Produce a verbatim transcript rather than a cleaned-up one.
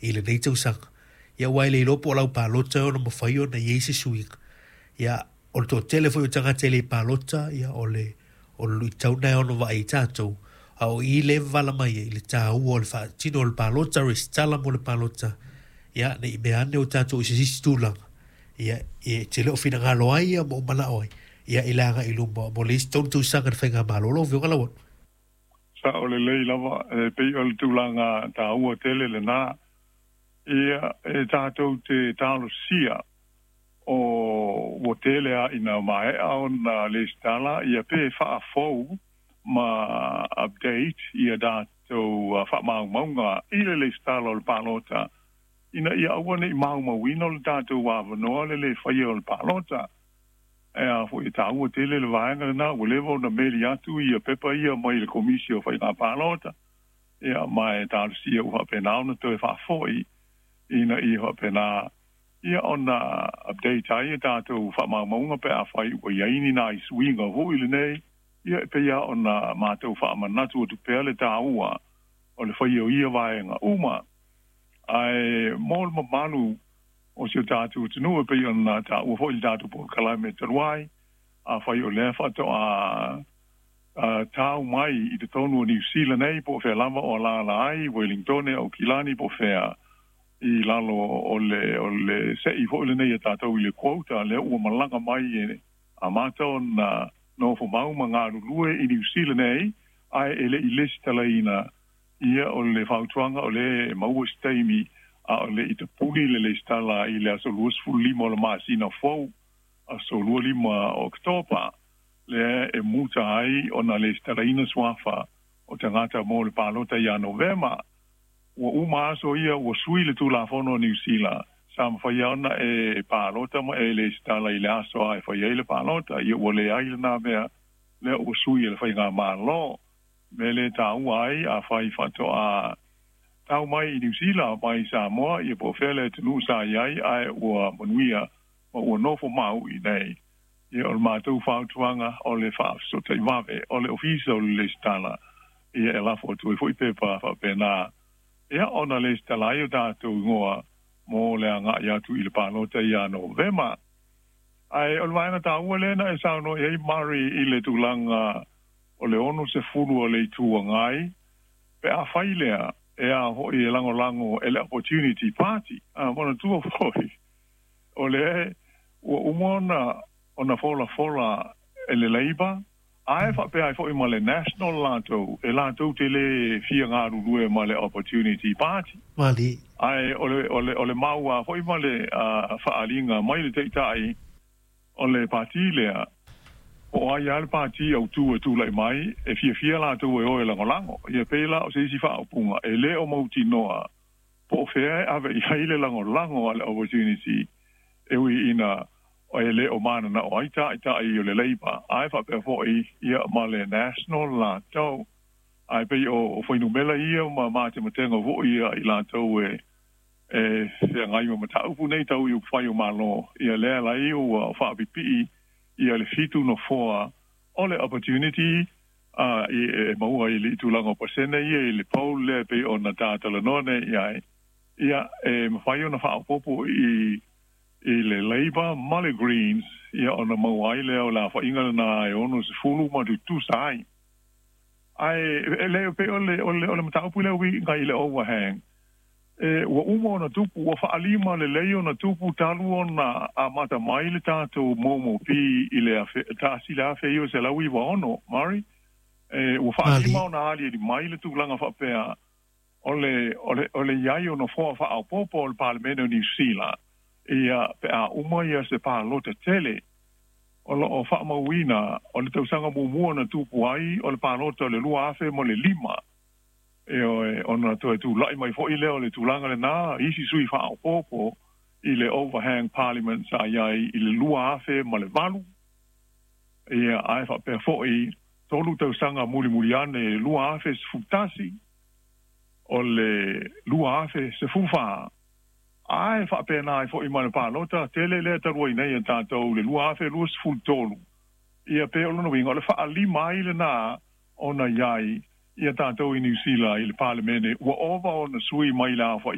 I lenei tausaga. Ia ua e le iloa po o lau palota e ono mafai ona i ai se suiga. Ia o le toatele foi o tagata e le palota, ia o le o le luitau lena e ono vaai ai tatou, a o i lea e vavala mai ai i le taua o le faatino o le palota, resitala mo le palota, ia ne i mea ane o tatou i se isi tulaga, ia e te le o finagalo ai ia ma o manao ai, ia i le agai i luma mo le isi tolu tausaga i le faigamalo. Lau Afioga Lauano. Sao lelei lava, e pei o le tulaga taua tele lena. Ia, e tatou te talosia o ua tele a ina maea ona lesitala ia pe faafou ma update ia tatou faamaumauga i le lesitala o le palota ina ia aua ne i maumauina o le tatou avanoa le le faia o le palota. E a foi e taua tele le vaega lena ua leva ona meli atu ia pepa ia mai le Komisi o Faiga Palota, ia ma e talosia ua faapena ona toe faafoi ina ia faapena ia ona update ai ia tatou faamaumauga pe afai ua i ai ni nai suiga foi lenei. Ia e pei lava ona matou faamanatu atu pea le taua o le faia o ia vaega uma. Ae mo le mamalu o si o tatou atunuu e pei ona taua foi i le tatou polokalame talu ai, afai o lea faatoa tau mai i totonu o Niu Sila nei po o fea lava o alaala ai, Wellingtone, Aukilani po o fea, i lalo o le o le se'i foi lenei a tatou i le quota lea ua malaga mai e amata ona nofomau ma galulue i Niu Sila nei ae e le i lesitalaina. Ia o le fautuaga o lea e maua se taimi a o le i tapuni le lesitala i le aso luasefulu lima o le masina fou, aso lua lima o Oketopa, lea e muta ai ona lesitalaina suafa o tagata mo le palota ia Novema. Ua uma aso ia ua sui le Tulafono a Niu Sila, sa mafai lava ona e palota ma e lesitala i le aso lava e fai ai le palota. Ia ua leai lena mea, lea ua sui e le faigamalo. Mea lea e taua ai, afai faatoa tau mai i Niu Sila mai Samoa, ia po o fea le atunuu sa i ai ae ua manuia ma ua nofo mau i nei, ia o le matou fautuaga o le faafesootai vave o le Ofisa o le Lesitala, ia e lafo atu ai foi pepa faapena ia ona lesitala ai o tatou igoa mo le agai atu i le palota ia Novema. Ae o le vaega taua lea na e saunoa i ai Murray i le tulaga o le ono sefulu o le Itu Agai, pe afai lea e a foi e lagolago e le Opportunity Party. A manatua foi o lea ua uma ona ona folafola e le Labour ae faapea ai foi ma le National latou e latou te le fia galulue ma le Opportunity Party. Mali. Ae o le o le o le maua foi ma le faaaliga mai le taitai o le pati lea, po o ai lava le pati autū e tulai mai, e fiafia latou e o e lagolago. Ia pei la o se isi faaupuga e le o mautinoa po o fea e ave i ai le lagolago a le Opportunity e ui ina e le o mananao ai taitai o le Labour ae faapea foi ia ma le National latou. Ae pei o fuainumera ia ma matematega foi ia i latou e e feagai ma mataupu nei tau i upufai o Malo, ia lea lai ua faapipii ia le fitu nofoa o le Opportunity a e maua i le tulaga o pasene ia i le poll lea e pei ona tatalanoa nei i ai, ia e mafai ona faaopoopo i i le Labour ma le Greens, ia ona maua ai lea o le aofaiga lena e ono sefulu ma tutusa ai. Ae e le pei o le o le o le mataupu lea uiga i le overhang, e ua uma ona tupu, ua faalima lelei ona tupu talu ona amata mai le tatou M M P i le afe, tasi le afe iva selau iva ono, Murray. E ua faalima ona aliali mai le tulaga faapea o le o le o le i ai o nofoa faaopoopo o le Palemene o Niu Sila ia pe a uma ia se palota tele. O lo o faamauina o le tausaga muamua na tupu ai o le palota o le lua afe ma le lima, ioe, ona toe tulai mai foi lea o le tulaga lena, isi sui faaopoopo i le overhang parliament sa i ai i le lua afe ma le valu, ia ae faapea foi tolu tausaga mulimuli ane i le lua afe sefulu tasi, o le lua afe sefulu fa, ae faapena ai foi ma le palota tele lea talu ai nei a tatou le lua afe luasefulu tolu. Ia pe o lona uiga o le faalima ai lena ona i ai ia tatou i Niu Sila i le Palemene ua ova ona sui mai le aofaiga.